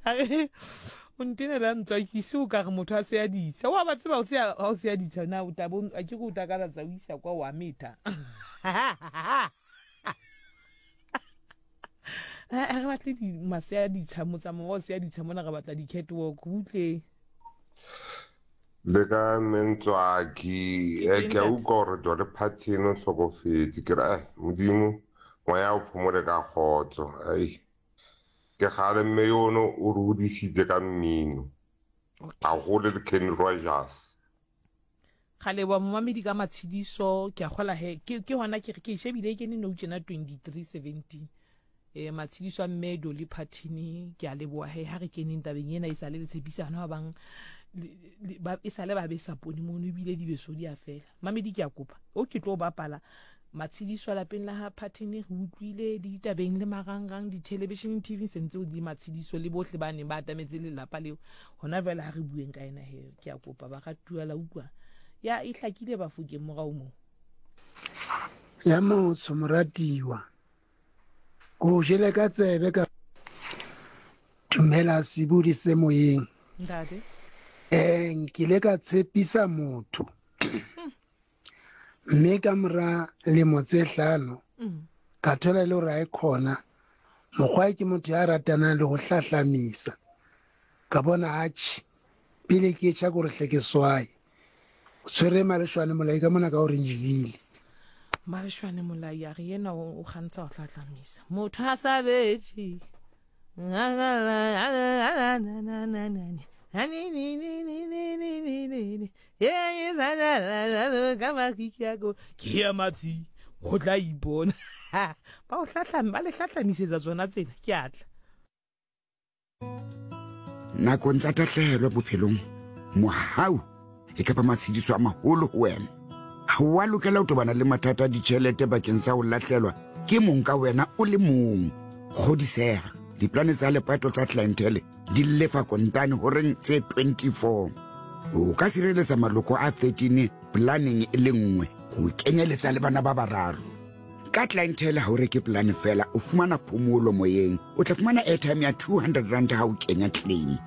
A re o ntenela ntswakise o ka re motho a se a ditsha. Wa ba tseba o se ha o se a ditsha na o tla bo a ke re o takalatsa o isa kwa wa metha. A re batle di masea a ditsha motsamao wa o se a ditsha mona re batla di-catwalk butle. Le ka Mentswaki, Ke eh, teng ke a ntate. utlwa gore Dolly Parton o hlokofetse. Ke re, eh, Modimo, moya o phomole ka kgotso. Ai, ke kgale mme yono o re hodisitse ka mmino. Okay. Haholo le Kenny Rogers. Ga leboa momamedi ka matshediso ke a gola he ke ke hona ke re ke e shebile e kene nou tjena 2317 eh matshediso a mme Dolly Parton ke a leboa he ha re keneng tabeng ena e sale le tshepisana ba bang ba e sale ba besa pone mono ebile dibeso di a fela mamedi ke a kopa o ke tlo bapala matshediso a lapeng la ha Parton re utlwile le ditabeng le marangrang di-television tv sentse o di matshediso le bohle ba neng ba atametse lelapa leo Hona jwale ha re bueng ka ena he, ke a kopa baratuwa la utlwa. Ya e hlakile Bafokeng morao moo. Ya motsho moratiwa. Ko jele ka tsebe ka dumela sebudi se moyeng. Ntate. Eh nkile ka tshepisa motho. Mme ka mora lemo tse hlano ka thola e le hore ha e khona. Mokgwa ke motho ya ratanang le ho hlahlamisa. Ka bona atjhe pele ke tjha kore hle ke swaye. O tshwere Maleshwane Molai ka mona ka Orangeville. Maleshwane Molai a re yena o kgantsha ho hlahlamisa. Motho a sa betše. Ke ya matsi o tla ipona. Ba o hlahlam ba le hlahlamisetsa tsona tsena ke atla. Nakong tsa tahlehelo bophelong, mohau e ka ba matshediso a maholo ho wena. Ha o a lokela ho tobana le mathata a ditjhelete bakeng sa ho lahlelwa ke mong ka wena o le mong. Kgodiseha, diplane tsa lepato tsa Clientele di lefa kontane horeng tse 24. O ka sireletsa maloko a 13 planeng e le nngwe, ho kenyeletsa le bana ba bararo. Ka Clientele ha o reke polane fela, o fumana phomolo moyeng. O tla fumana airtime ya 200 rand ha o kenya claim.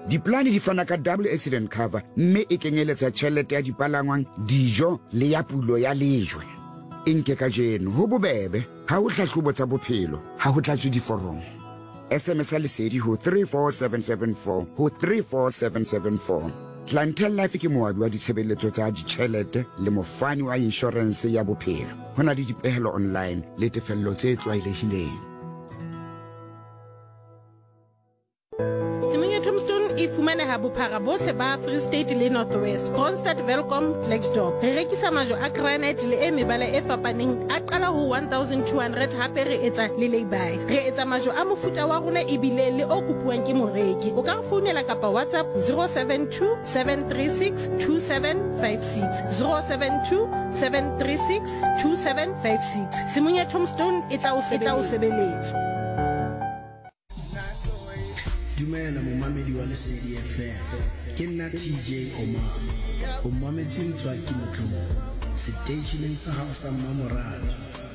Dipolane di fana ka double accident cover mme e kenyeletsa tjhelete ya dipalangwang, dijo le ya pulo ya lejwe. E nke kajeno, ho bobebe, ha ho hlahlobo tsa bophelo, ha ho tlatswe diforomo. SMS ya Lesedi ho 34774 ho 34774. Clientele Life ke moabi wa ditshebeletso tsa ditjhelete le mofani wa inshorense ya bophelo. Ho na le dipehelo online le tefello tse tlwaelehileng. Tshimong ya Tombstone e fumaneha bophara bohle ba Free State le North West, Kroonstad, Welkom, Klerksdorp. Re rekisa majwe a granite le e mebala e fapaneng a qala ho 1200 hape re etsa le lay-by. Re etsa majwe a mofuta wa rona ebile le o kopuwang ke moreki. O ka re founela kapa WhatsApp 072 736 2756, 072 736 2756. Tshimong ya Tombstone e tla o sebeletsa. Dumela momamedi wa Lesedi FM. Ke nna TJ Omar. O mametse Ntswaki Motlou seteisheneng sa gago sa mmamoratwa.